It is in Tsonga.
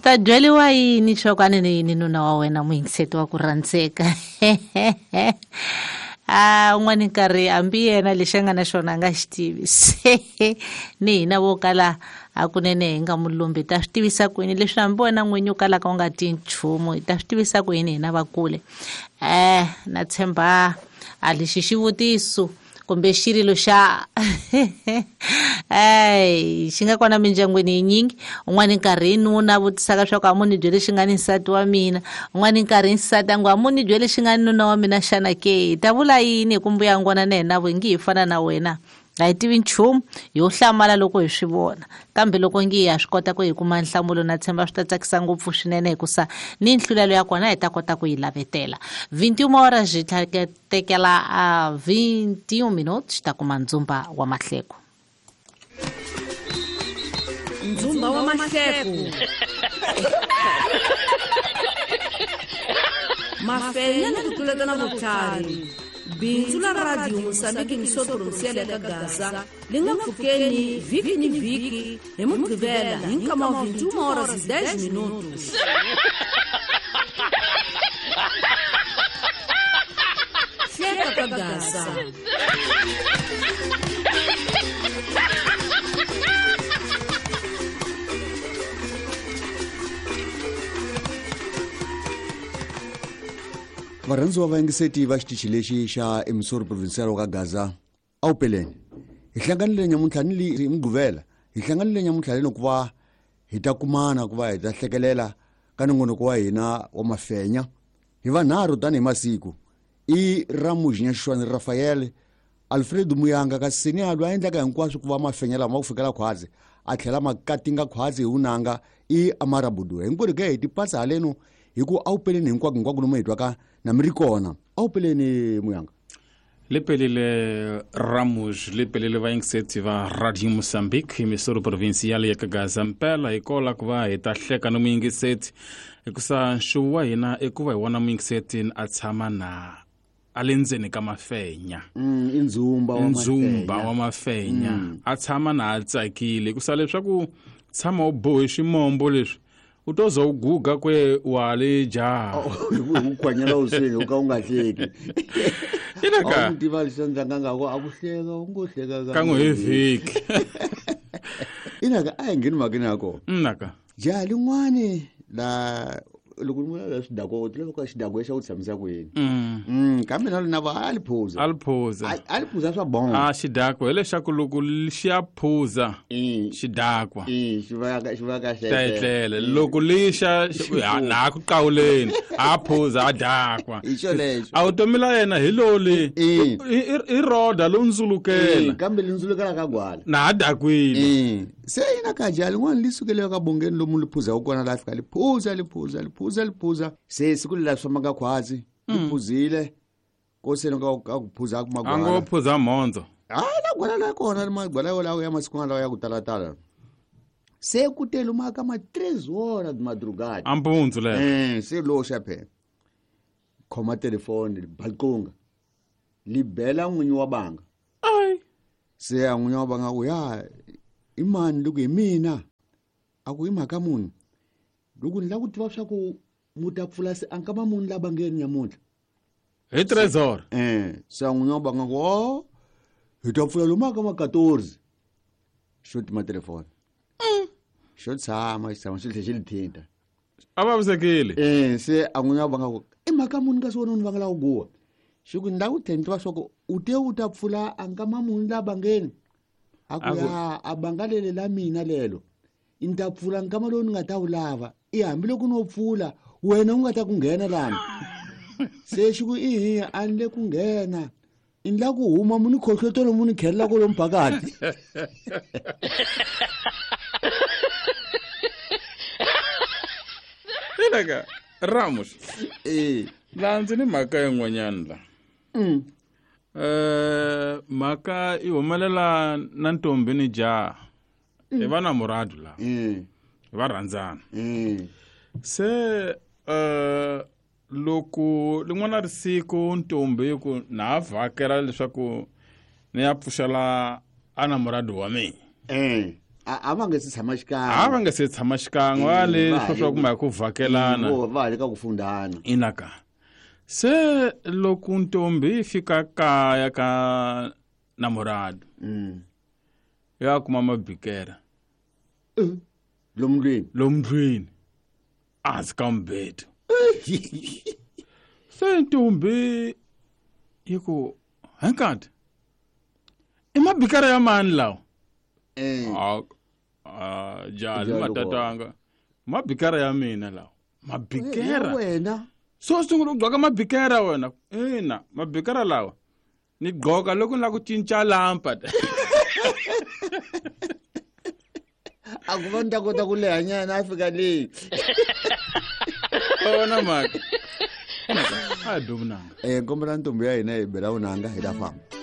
Ta byeriwa yini swa ni ni nuna wa wena muyingiseti wa ku rhandzeka? A un'wana nkarhi hambi yena lexi a nga na xona a nga xi tivi, se ni hina vo kala hakunene hi nga mulumbi ta swi tivisa ku yini leswi hambi wena n'winyi u kalaka u nga ti nchumu, hi ta swi tivisa ku yini hina vakule? Na tshemba a lexi xivutiso kumbe xirilo xa ey xi nga kona mindyangwini yinyingi. Un'wana nkarhi nuna vutisaka swa ku a mu ni byele xi nga ni nsati wa mina, un'wana nkarhi nsati a ngo a mu ni byele xi nga ni nuna wa mina. Xana ke hi ta vula yini hi ku mbuya ngona na hina vo ngi hi fana na wena, a hi tivi nchumu, hi yo hlamala loko hi swi vona. Kambe loko ngi ha swi kota ku hi kuma nhlamulo, na tshemba swi ta tsakisa ngopfu swinene, hikusa ni nhlulelo ya kona hi ta kota ku yi lavetela. 21 horas hi tekela a 21 minutos, ta kuma ndzumba wa mahleko. Ndzumba wa mahleko, mafenya ni ku tluletana vutlhari. Bindzu la Radio Mosambiki Missão Provincial ya ka Gaza li nga pfukeni vhiki ni vhiki hi Mugqivela hi nkama wa 21 horas e 10 minutos. Hleka ka Gaza. Varhandziwa vayingiseti va xitichi lexi xa Emissora Provincial wa ka Gaza, a wu peleni hi hlanganile nyamuntlha ni li Mugqivela, hi hlanganile nyamuntlha leni ku va hi ta kumana ku va hi ta hlekelela ka nongonoko wa hina wa mafenya hi vanharhu tanihi masiku. I Ramuji Nyaxixwani Rafael, Alfredo Muyanga ka Senialo a endlaka hinkwaswo ku va mafenya lama ku fikela khwazi a tlhela ma katinga khwazi hi vunanga i Amara Budu. Hinkwerhu ke hi tipatsa haleno hi ku a wu peleni hinkwako hinkwako lomu hi twaka na mi ri kona. A wu peleni Muyanga. Li pelile Ramus, li pelile vayingiseti va Radio Mozambique Emissora Provincial ya ka Gaza. Mpela hi kola ku va hi ta hleka ni muyingiseti, hikusa nxuvu wa hina i ku va hi vona muyingiseti a tshama na a le ndzeni ka mafenya. I ndzumba wa ndzumba wa mafenya, a tshama na a tsakile, hikusa leswaku tshama u bohe ximombo leswi u to za u guga kwe wa le jaha. U khwanyela u swini u ka u nga hleki. Inaka. A wu tiva lexi endlaka nga ku a ku hleka u ngo hleka kan'we hi vhiki. Inaka a hi ngheni mhakeni ya kona. Naka. Jaha lin'wani la loko ni vula la xidakwa, u tiva ka xidakwa xa ku tshamisa ku yini? Kambe na lona va a li phuza. A li phuza. A li phuza swa bongo. A xidakwa hileswaku loko xi ya phuza xidakwa. Xi va ka, xi va ka Ta etlela. Loko lixa na ku qawuleni, a phuza a dakwa. Hi xolexo. A vutomi la yena hi loli. I roda lo ndzulukela. Kambe li ndzulukela ka gwala. Na a dakwile. Se yina ka jaha lin'wana li sukele ka bongeni lomu li phuzaka kona, la fika li phuza, li phuza, li phuza, li phuza. Se siku leri la swi fambaka khwazi, li phuzile. Ko se ka ka ku phuza a kuma A ngo gwala. phuza mhondzo. Hayi, la gwala la kona, magwala yolawo ya masiku lawa ya ku talatala. Se ku te lomu ka ma 3 horas de madrugada. A mpundzu lero. Se lo xa phela. Khoma telefoni, li balqunga. Li bela n'winyi wa banga. Ai. Se a n'winyi wa banga ku ya i mani loko hi mina? A ku i mhaka muni? Loko ni lava ku tiva swa ku mu ta pfula se a nkama muni la bangeni nyamuntlha? Hi Trezor. Se a n'winyi wa banga ku, oh, hi ta pfula lomu ka ma 14. Xo tima telefoni. Xo tshama, xi tshama, xi tlhela xi li thinta. A vavisekile. Se a n'winyi wa banga ku, i mhaka muni kasi wena u ni vangela ku guwa? Xi ku ni lava ku tlhela ni tiva swa ku u te u ta pfula a nkama muni la bangeni? A ku A ku ya, a banga lele la mina lelo. Ni ta pfula nkama lowu ni nga ta wu lava. I hambiloko no pfula, wena u nga ta ku nghena lani. Se xi ku ihi, a ni le ku nghena. Ni la ku huma mu ni khohlotelo mu ni khelela kwalomu phakathi. Inaka, Ramos. La ndzi ni mhaka yin'wanyana la. Mhaka yi humelela na ntombi ni jaha. Hi va na muradu la. Va rhandzana. Se loko lin'wana ri siku ntombi yi ku na ha vhakela leswaku ni ya pfuxela a na muradu wa mina. A va nge se tshama xikan'we. A va nge se tshama xikan'we va le va swo swa kuma hi ku vhakelana. Va ha le ka ku fundhana. Inaka se loko ntombi yi fika kaya ka namorado, ya kuma mabikera lomu ndlwini. Lomu ndlwini ehansi ka mubedo. Se ntombi yi ku, "Hankati, i mabikara ya mani lawa?" Ah, jali. Jali. Matatanga, mabikara ya mina lawa, mabikera. Ya wena? So sungula ku gqoka mabikera wena? Ina, mabikera lawa ni gqoka loko ni lava ku cinca lampa. A ku va ni ta kota ku lehanyana a fika leyi. Vona mhaka a hi be vunanga. Kombela ntombi ya hina hi bela vunanga, hi ta famba.